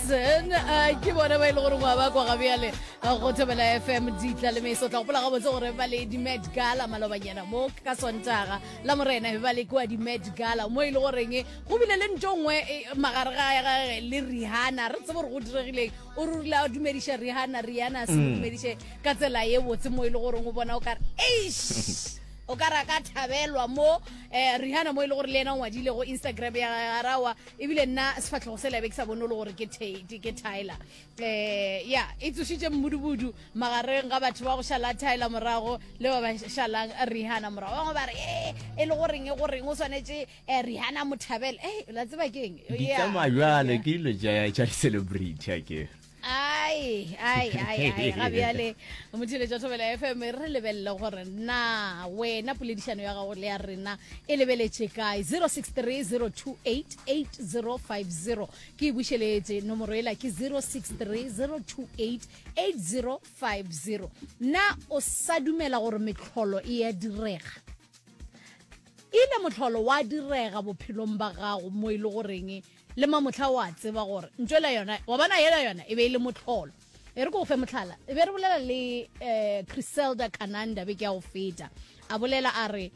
Jackson uh, ke bona ba e le gore ngwa ba kwa gabjale uh, go thobela fm ditla le meso tla gopola gabotse gore ba le di-met gala malobanyana mo ka sontaga la morena be ba le kua di-met gala mo e le goreng go bile le nto nngwe eh, magare ga gage le rihanna re tsebe gore go diregileng o rurile a dumediša rihanna rihanna a se mo mm. dumediše ka tsela ye botse mo e le goreng o bona o kare eish o ka ra ka thabelwa mo um rihanna mo e le gore le yena o ngwadile go instagram ya garawa ebile nna sefatlhego se labe ke sa bone o le gore ke ke tyler um ya e tsošitše mmudubudu magareng ga batho ba go šala tyler morago le ba ba šalang rihanna morago bangwe ba re e e le goreng e goreng o swanetše um rihanna mothabele e la tseba keng di tsamaya jale ke dilo tša di-celebrity a ke ai ai ai ai ga bjale motheletša thobela fm re lebelele gore na wena poledišano ya gago le ya rena e lebeletše kae 0630288050 ke e bušeletše nomoro ela ke 0630288050 na o sa dumela gore metlholo e ya direga ile motlholo wa direga bophelong ba gago mo e le goreng Le mamohla o a tseba gore ntšwela yona, wa bona yela yona e be e le mohlolo. E re ko go fe mohlala, e be re bolela le eh, Criselda Kananda beke ya go feta. A bolela a re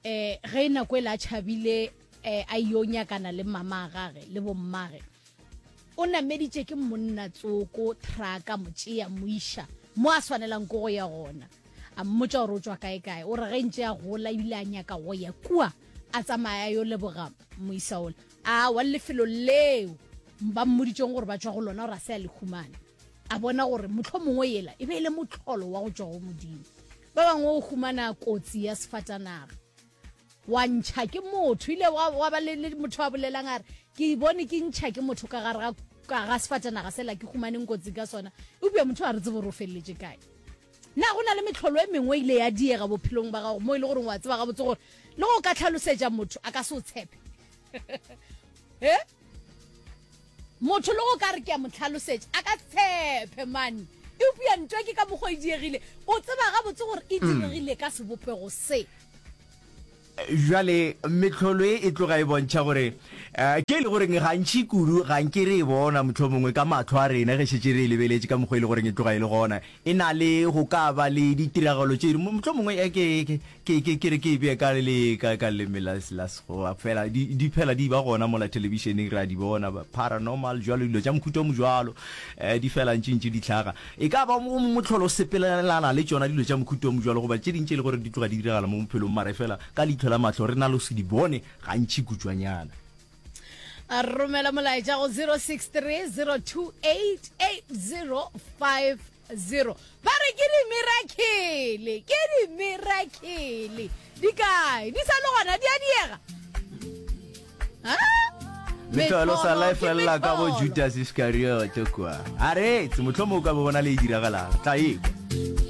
eh, ge nako e la tšhabile eh, a yo nyakana le mama gage le bommage o nameditše ke monna tsoko traka motšea moiša mo a swanelang ko go ya gona a mmotša gore o tšwa kae kae o re ge ntše a gola ebile a nyaka go ya kua a tsamaya yo leboga moisa ola A wa lefelo leo ba mmoditšeng gore ba tšwa go lona gore a se a le humane, a bona gore mohlomongwe yela e be e le mohlolo wa go tšwa go Modimo. Ba bangwe o humana kotsi ya sefatanaga, wa ntšha ke motho, ile wa, wa ba le, le motho a bolelang a re, ke bone ke ntšha ke motho ka gare ga, ka ga sefatanaga sela ke humaneng kotsi ka sona, eupša motho a re tsebe gore o feleletše kae. Na go na le mehlolo e mengwe e ile ya diega bophelong ba gago mo e le goreng wa tseba gabotse gore le go ka tlhalosetša motho a ka se o tshepe? e motho le go ka re ke a mo tlhalosetša a ka tshepe mane eupša ntwa ke ka mokgwa e diegile o tseba gabotse gore e diregile ka sebopego se Bjale mehlolo e e tloga e bontšha gore um ke e le goreng gantši kudu ga nke re e bona mohlomongwe ka mahlo a rena ge šetše re e lebeletše ka mokgwa e le goreng e tloga e le gona. E na le go ka ba le ditiragalo tše mohlomongwe eh, ke ke ke ke re ke e bee ka le ka ka leleme la la Sekgowa fela di di phela di ba gona mola thelebišeneng re a di bona paranormal jwalo dilo tša mohuta o mojwalo um di fela ntši ntši di hlaga. E ka ba mo mohlolo o sepelelana le tšona dilo tša mohuta o mojwalo goba tše ding tše e le gore di tloga di diragala mo bophelong mara efela ka leihlo la mahlo re na le go se di bone gantši kutšwanyana. A romela molaetša go 0630288050 ba re ke dimirakhele ke dimirakhele di kae di sa le gona di a diega Mehlolo sa la e felela ka bo Judas Iskariote kwa. A re, mohlomong o ka bo bona le e diragalang. Tla ekwa.